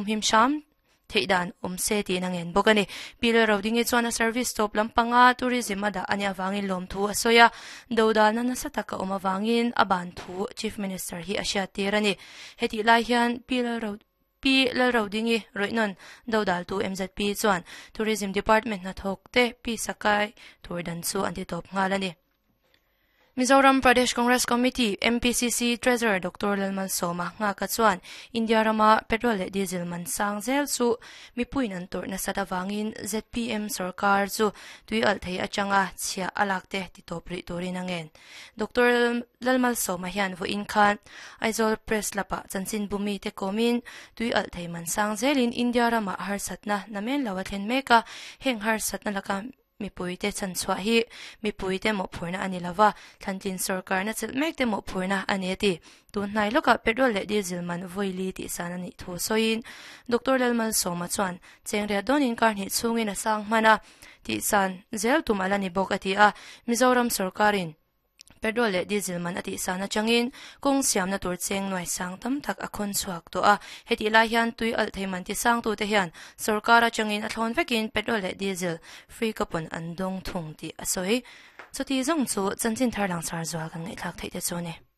him hram theih dan awm se tiin a ngen bawk a ni. Pi Lalrodingi chuan a service tawp lampanga tourism a dah a nih avangin lawmthu a sawi a, dodalna nasa tak a awm avangin a ban thu Chief Minister hi a hriattir a ni. Hetih lai hian Pi Lalro Pi Lalrodingi rawihnawn dodaltu MZP chuan Tourism Department hnathawk te Pi Sakai tur dan chu an ti tawp nghal a ni. Mizoram Pradesh Congress Committee, MPCC, Treasurer Doctor Lalmalsawma Nghaka chuan India rama petrol leh diesel man sang zel chu mipuiin an tawrh nasat avangin zpm sorkar chu tui alh thei atanga chhiah a lak te ti tawp rih turin a ngen. Doctor Lalmalsawma hian vawiin khan Aizawl Press Club-ah chanchinbu mite kawmin tui alh thei man sang zelin India ramah harsatna namen lo a thlen mek a, heng harsatna laka Mipuite chhanchhuah hi mipuite mawhphurhna a ni lo va, thlantlin sorkarna chelh mekte mawhphurhna a ni a ti. Tun hnai lawkah petrol leh diesel man vawi li tih san a nih thu sawiin Doctor Lalmalsawma chuan chengriat dawnin kar hnih chhungin a sang hman a, tih san zel tum a la ni bawk a ti a, Mizoram sorkarin Petrol leh diesel man a tihsan atangin kawng siamna tur cheng nuai sang tam tak a khawn chhuak tawh a. Hetih lai hian tui alh thei man tisangtute hian sorkar atangin a thlawn vekin petrol leh diesel free coupon an dawng thung tih a sawi. Chuti zawng chu chanchin thar langsar zual kan ngaihthlak theih te chu a ni.